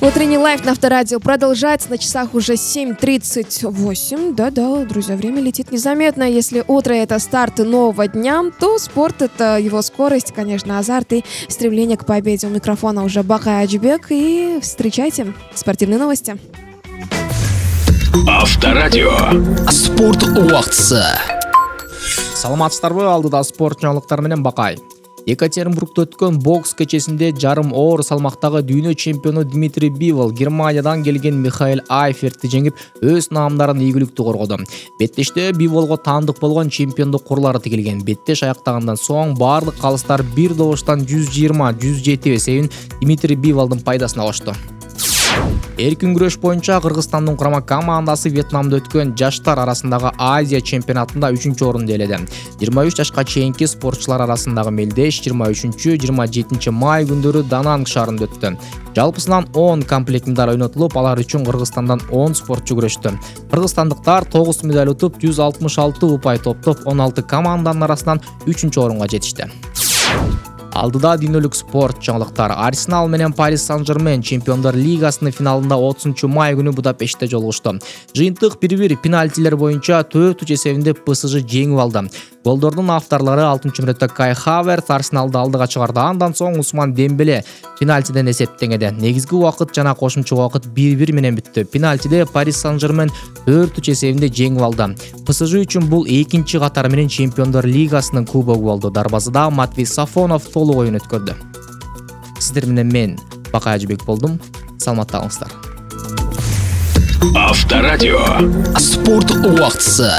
Утренний лайф на Авторадио продолжается. На часах уже 7:38. Да-да, друзья, время летит незаметно. Если утро — это старт нового дня, то спорт — это его скорость, конечно, азарт и стремление к победе. У микрофона уже Бакай Аджибек. И встречайте спортивные новости. Авторадио. Спорт убактысы. Саламатсыздарбы? Алдыда спорт жаңылыктары менен Бакай. Екатеринбургда өткөн бокс кечесинде жарым оор салмактагы дүйнө чемпиону Дмитрий Бивол Германиядан келген Михаил Айфертти жеңип, өз наамдарын ийгиликтүү коргоду. Беттеште Биволго таандык болгон чемпиондук курлары тигилген. Беттеш аяктагандан соң баардык калыстар бир добуштан 120-107 эсебин Дмитрий Биволдун пайдасына кошту. Эркин күрөш боюнча Кыргызстандын курама командасы Вьетнамда өткөн жаштар арасындагы Азия чемпионатында 3-орунду ээледи. 23 жашка чейинки спортчулар арасындагы мелдеш 23-27 май күндөрү Дананг шаарында өттү. Жалпысынан 10 комплект медаль ойнотулуп, алар үчүн Кыргызстандан 10 спортчу күрөштү. Кыргызстандыктар 9 медаль утуп, 166 упай топтоп, 16 команданын арасынан 3-орунга жетишти. Алдыда дүйнөлүк спорт жаңылыктары. Арсенал менен Парис Сан-Жермен Чемпиондар лигасынын финалында 30 май күнү Будапештте жолугушту. Жыйынтык 1-1 пенальтилер боюнча 4-3 эсебинде ПСЖ жеңип алды. Голдордун авторлору 6-мүнөттө Кай Хаверт Арсеналды алдыга чыгарды. Андан соң Усман Дембеле пенальтиден эсептеңеди. Негизги убакыт жана кошумча убакыт 1-1 менен бүттү. Пенальтиде Парис Сан-Жермен 4-3 эсебинде жеңип алды. ПСЖ үчүн бул экинчи катары менен Чемпиондар лигасынын кубогу болду. Дарбазада Матвей Сафонов толук оюн өткөрдү. Сиздер менен мен Бакай Аджибек болдум. Саламатта калыңыздар. Авторадио. Спорт убактысы.